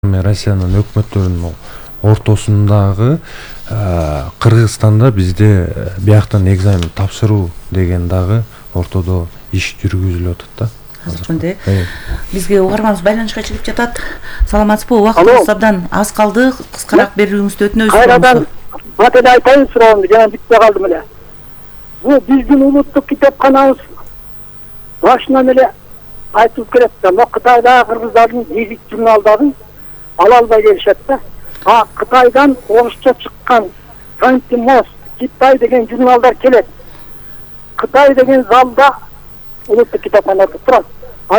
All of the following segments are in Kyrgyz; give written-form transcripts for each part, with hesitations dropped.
Россиянын өкмөттөрүнүн ортосундагы Кыргызстанда бизде бияктан экзамен тапшыруу деген дагы ортодо иш жүргүзүлүп атат да. Азыр күндө бизге угарманыбыз байланышка чыгып жатат. Саламатсызбы? Убактыбыз абдан аз калды. Кыскараак берүүңүздү өтүнөбүз. Кайрадан бател айтайын суроомду, жана бүтпөй калдым эле. Бул биздин улуттук китепканабыз башынан эле айтылып келет да. Мо Кытайдагы кыргыздардын гезит журналдарын ала албай келишет да. Кытайдан орусча чыккан Кантимос, Китай деген журналдар келет. Кытай деген залда улуттук китапканада турат.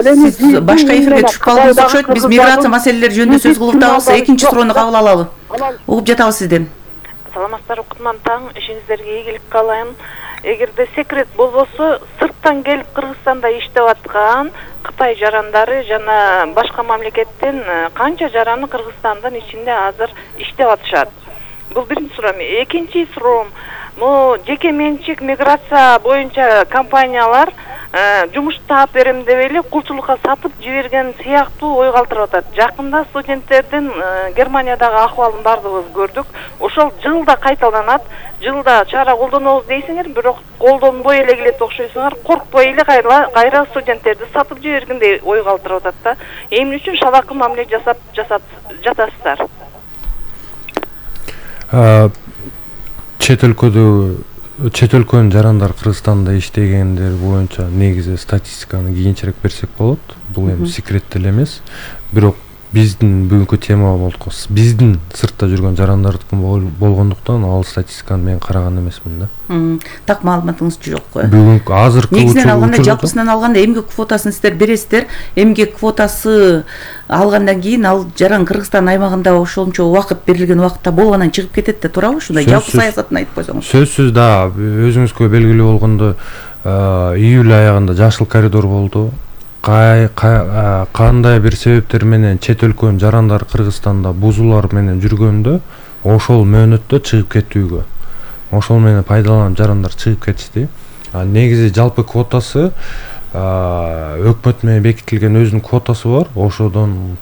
Сиз башка эфирге түшүп калдыңыз окшойт. Биз миграция маселелери жөнүндө сөз кылып атабыз. Экинчи суроону кабыл алалы. Угуп жатабыз сизден. Саламаттар, кутман таң, ишиңиздерге ийгилик каалайм. Эгерде секрет болбосо, сырттан келип Кыргызстанда иштеп аткан Кытай жарандары жана башка мамлекеттен канча жараны Кыргызстандын ичинде азыр иштеп атышат? Бул биринчи суроом. Экинчи суроом, могу жеке менчик миграция боюнча компаниялар жумуш таап берем деп эле кулчулукка сатып жиберген сыяктуу ой калтырып атат. Жакында студенттердин Германиядагы акыбалын бардыгыбыз көрдүк. Ошол жылда кайталанат. Жылда чара колдонобуз дейсиңер, бирок колдонбой эле келет окшойсуңар. Коркпой эле кайра студенттерди сатып жибергендей ой калтырып атат да. Эмне үчүн шалакы мамиле жасап жатасыздар? Чет өлкөнүн жарандар Кыргызстанда иштегендер боюнча негизи статистиканы кийинчерээк берсек болот. Бул эми секрет деле эмес. Бирок биздин бүгүнкү тема болуп биздин сыртта жүргөн жарандардыкы болгондуктан ал статистиканы мен караган эмесмин да. Так маалыматыңыз жок. Бүгүнкү азыркы негизинен алганда, жалпысынан алганда эмгек квотасын сиздер бересиздер. Эмгек квотасы алгандан кийин ал жаран Кыргызстан аймагында ошончо убакыт берилген убакытта болгондон чыгып кетет да, туурабы? Ушундай жалпы саясатын айтып койсоңуз. Сөзсүз да, өзүңүзгө белгилүү болгондой июль аягында жашыл коридор болду. Кандай бир себептер менен чет өлкөнүн жарандар Кыргызстанда бузуулар менен жүргөндө ошол мөөнөттө чыгып кетүүгө, ошол менен пайдаланып жарандар чыгып кетишти. Негизи жалпы квотасы өкмөт менен бекитилген өзүнүн квотасы бар. Ошодон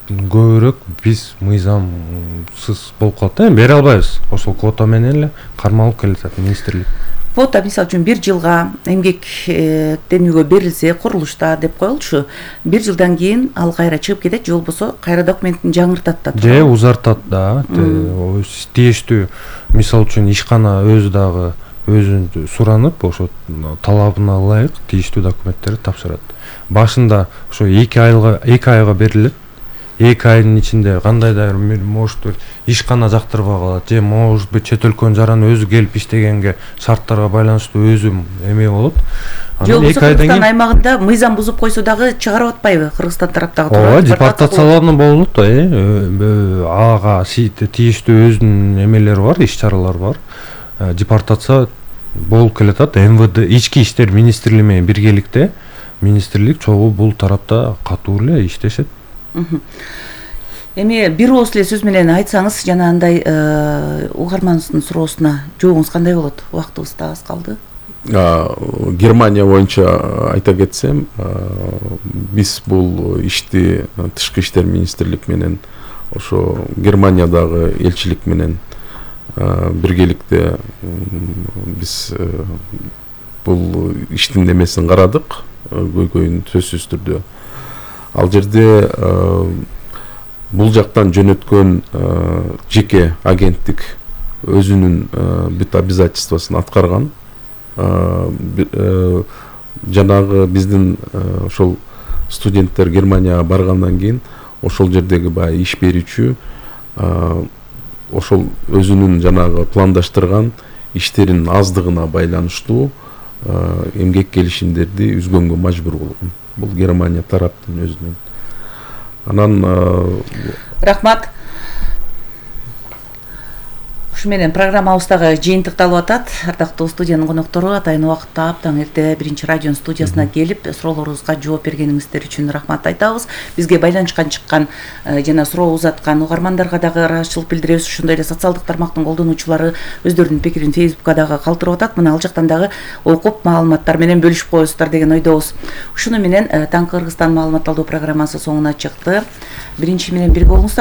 көбүрөөк биз мыйзамсыз болуп калат да. Бере албайбыз. Ошол квота менен эле кармалып келатат министрлик. Квота мисалы үчүн 1 жылга эмгектенүүгө берилсе, курулушта деп коелучу, 1 жылдан кийин ал кайра чыгып кетет, же болбосо кайра документин жаңыртат да. Же узартат да. Тийиштүү мисалы үчүн ишкана өзү дагы өзүн суранып, ошо талабына ылайык тийиштүү документтерди тапшырат. Башында ошо 2 айга берилет. 2 айдын ичинде кандайдыр может ишкана жактырбай калат, же может чет өлкөнүн жараны өзү келип иштегенге шарттарга байланыштуу өзү эме болот. Же болбосо Кыргызстан аймагында мыйзам бузуп койсо дагы чыгарып атпайбы Кыргызстан тараптагы? Ооба, депортациялануу болот да. Ага тийиштүү өзүнүн эмелери бар, иш-чаралар бар. Депортация болуп келатат. МВД, Ички иштер министрлиги менен биргеликте министрлик чогуу бул тарапта катуу эле иштешет. Эми бир ооз эле сөз менен айтсаңыз, жана андай угарманыбыздын суроосуна жообуңуз кандай болот? Убактыбыз да аз калды. Германия боюнча айта кетсем, биз бул ишти тышкы иштер министрлик менен ошо Германиядагы элчилик менен биргеликте биз бул иштин эмесин карадык, көйгөйүн сөзсүз түрдө. Ал жерде бул жактан жөнөткөн жеке агенттик өзүнүн бүт обязательствосын аткарган. Жанагы биздин ошол студенттер Германияга баргандан кийин ошол жердеги баягы иш берүүчү ошол өзүнүн жанагы пландаштырган иштеринин аздыгына байланыштуу эмгек келишимдерди үзгөнгө мажбур болгон. Бул Германия тараптын өзүнөн. Анан рахмат. Ушу менен программабыз дагы жыйынтыкталып атат. Ардактуу студиянын коноктору атайын убакытта аптаң эрте биринчи радионун студиясына келип суроолорубузга жооп бергениңиздер үчүн рахмат айтабыз. Бизге байланышка чыккан жана суроо узаткан угармандарга дагы ыраазычылык билдиребиз. Ошондой эле социалдык тармактын колдонуучулары өздөрүнүн пикирин Facebookка дагы калтырып атат. Мына ал жактан дагы окуп маалыматтар менен бөлүшүп коесуздар деген ойдобуз. Ушуну менен Таңкы Кыргызстан маалымат алуу программасы соңуна чыкты. Биринчи менен бирге болуңуздар.